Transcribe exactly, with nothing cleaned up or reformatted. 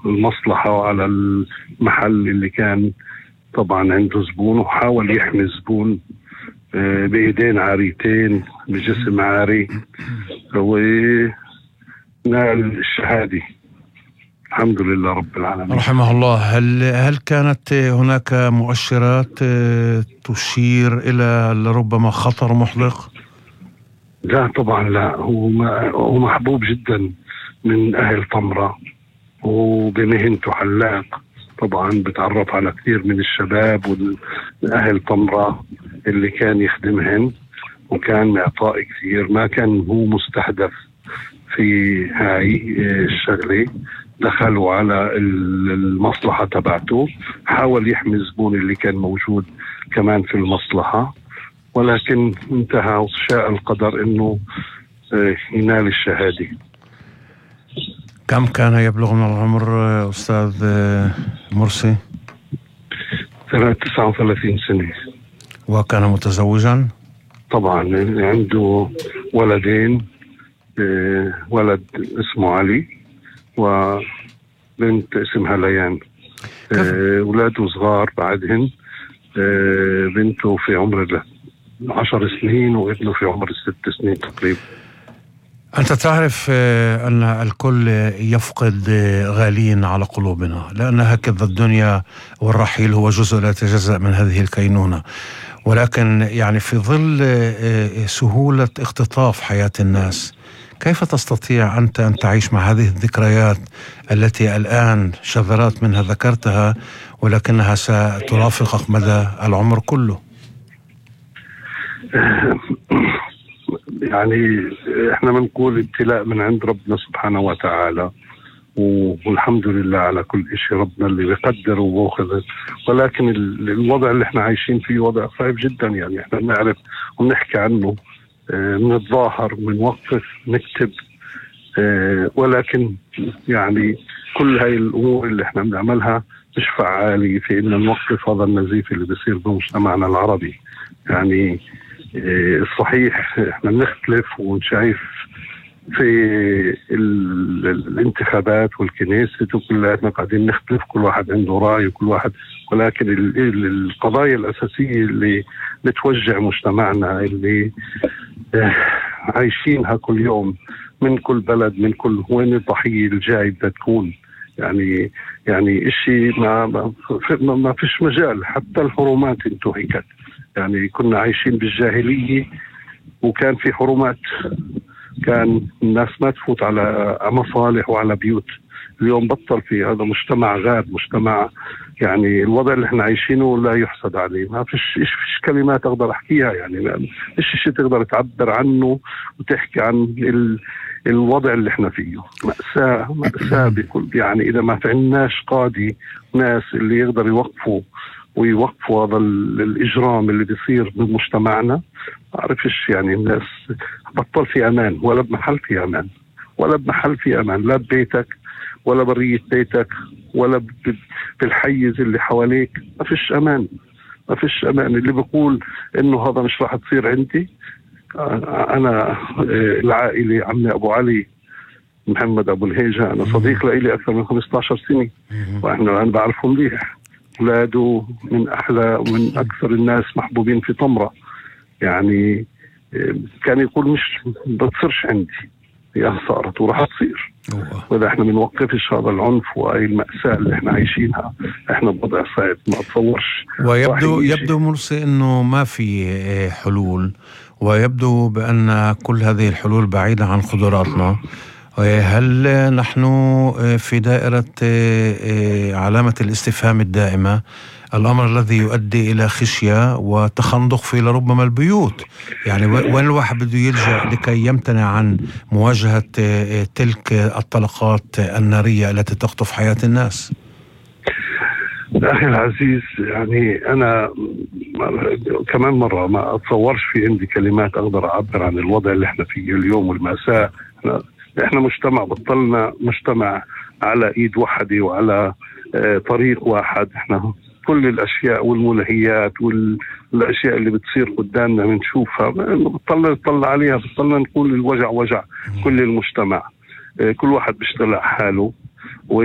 المصلحة وعلى المحل اللي كان طبعا عنده زبون، وحاول يحمي الزبون بإيدين عاريتين بجسم عاري، ونال الشهادة الحمد لله رب العالمين رحمه الله. هل هل كانت هناك مؤشرات تشير إلى ربما خطر محدق؟ لا طبعا لا، هو هو محبوب جدا من أهل طمرة، وبمهنته حلاق طبعا بتعرف على كثير من الشباب والأهل طمرة اللي كان يخدمهن، وكان معطاء كثير، ما كان هو مستهدف في هاي الشغلة. دخلوا على المصلحة تبعته، حاول يحمي الزبون اللي كان موجود كمان في المصلحة، ولكن انتهى وشاء القدر انه ينال الشهادة. كم كان يبلغ من العمر أستاذ مرسي؟ تسعة وثلاثين سنة. وكان متزوجا؟ طبعا عنده ولدين، ولد اسمه علي وبنت اسمها ليان. أولاده صغار بعدهن، بنته في عمر عشر سنين وابنه في عمر ست سنين تقريبا. أنت تعرف أن الكل يفقد غالين على قلوبنا، لأن هكذا الدنيا، والرحيل هو جزء لا يتجزأ من هذه الكينونة. ولكن يعني في ظل سهولة اختطاف حياة الناس، كيف تستطيع أنت أن تعيش مع هذه الذكريات التي الآن شذرات منها ذكرتها، ولكنها سترافقك مدى العمر كله؟ يعني احنا بنقول ابتلاء من عند ربنا سبحانه وتعالى، والحمد لله على كل شيء، ربنا اللي بيقدر وبياخذ. ولكن الوضع اللي احنا عايشين فيه وضع صعب جدا، يعني احنا بنعرف وبنحكي عنه، بنتظاهر بنوقف نكتب، ولكن يعني كل هاي الامور اللي احنا بنعملها مش فعالة في ان نوقف هذا النزيف اللي بيصير بمجتمعنا العربي. يعني الصحيح احنا بنختلف ونشايف في الانتخابات والكنيسة وكلنا قاعدين نختلف، كل واحد عنده رأي وكل واحد، ولكن القضايا الأساسية اللي بتوجع مجتمعنا اللي عايشينها كل يوم من كل بلد، من كل وين الضحية الجاي بدها تكون، يعني يعني اشي ما ما, ما فيش مجال. حتى الحرمات انتهكت، يعني كنا عايشين بالجاهلية وكان في حرمات، كان الناس ما تفوت على مصالح وعلى بيوت. اليوم بطل في هذا، مجتمع غاب، مجتمع يعني الوضع اللي احنا عايشينه لا يحسد عليه. ما فيش إيش فيش كلمات اقدر احكيها، يعني ما فيش شيء تقدر تعبر عنه وتحكي عن ال الوضع اللي احنا فيه. مأساة مأساة بكل، يعني اذا ما فعناش قاضي ناس اللي يقدر يوقفوا ويوقفوا هذا الإجرام اللي بيصير بمجتمعنا، أعرفش يعني الناس بطل في أمان، ولا بمحل في أمان، ولا بمحل في أمان، لا ببيتك ولا برية بيتك ولا بالحيز اللي حواليك، ما فيش أمان، ما فيش أمان. اللي بيقول إنه هذا مش راح تصير عندي، أنا العائلة عمي أبو علي محمد أبو الهيجة، أنا صديق لإلي أكثر من خمسة عشر سنة، وإحنا أنا بعرفه مليح. أولاده من أحلى ومن أكثر الناس محبوبين في طمرة، يعني كان يقول مش بتصيرش عندي، هي صارت وراح تصير. وإذا إحنا بنوقفش هذا العنف وهي المأساة اللي إحنا عايشينها، إحنا بوضع صعب ما أتصورش. ويبدو يبدو مرسي إنه ما في حلول، ويبدو بأن كل هذه الحلول بعيدة عن قدراتنا. هل نحن في دائرة علامة الاستفهام الدائمة، الأمر الذي يؤدي إلى خشية وتخندق في لربما البيوت؟ يعني وين الواحد بده يلجأ لكي يمتنع عن مواجهة تلك الطلقات النارية التي تخطف حياة الناس؟ أخي العزيز، يعني أنا كمان مرة ما أتصورش في عندي كلمات أقدر أعبر عن الوضع اللي احنا فيه اليوم والمأساة. احنا, احنا مجتمع بطلنا مجتمع على إيد واحدة وعلى اه طريق واحد. احنا كل الأشياء والملهيات والأشياء اللي بتصير قدامنا بنشوفها بطلنا نطلع عليها، بطلنا نقول الوجع وجع كل المجتمع. اه كل واحد بيشتغل على حاله و